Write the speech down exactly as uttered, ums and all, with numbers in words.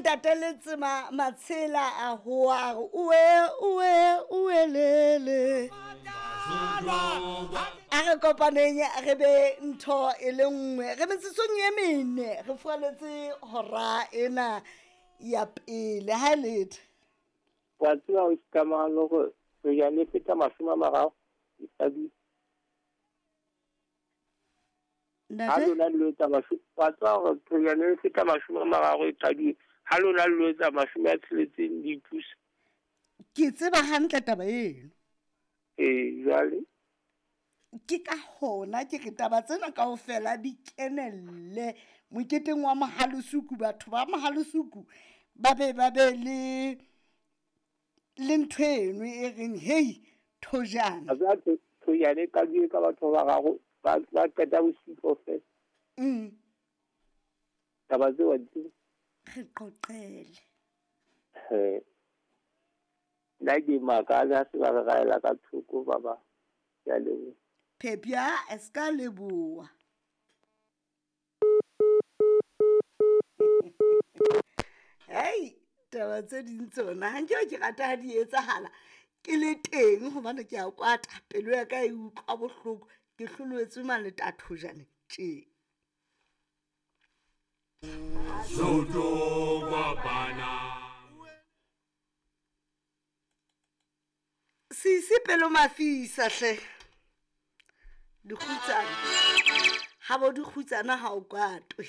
Ntate Letsema Matshela a hoa a re oe oe oelele. A re kopaneng re be ntho e le nngwe. Re metsotsong e mene re fualetse hora ena ya pele ha e letho. Wa tseba o ikamahalo hore re ya le feta mashome a mararo e qadile. Ha lona le etsa mashome, wa tseba hore thojane e feta mashome a mararo e qadile. Ha lona le etsa mashome a tsheletseng le ithusa. Ke tseba hantle taba eno. Ee, jwale Ke ka hona ke re taba tsena kaofela di kenelle moketeng wa Mohalesuku. Batho ba Mohalesuku ba be ba be le le ntho eno e reng hei thojana. A tseba thojane e qadile ka batho ba bararo ba ba qeta bosiu kaofela. Mm. Taba tseo wa di tseba? Re qoqele. He. Nna ke makala ha se ba re raela ka thoko ba ba. Ke a leboha. Phepya e ska leboha. Hei, taba tse ding tsona ha nke ke rata ha di etsahala ke le teng hobane ke a kwata pelo ya ka e utlwa bohloko ke hloloetswe maleta thojane tje. Sisi pelo mafisa hle. Dikgutsana. Ha bo dikgutsana ha o kwatwe.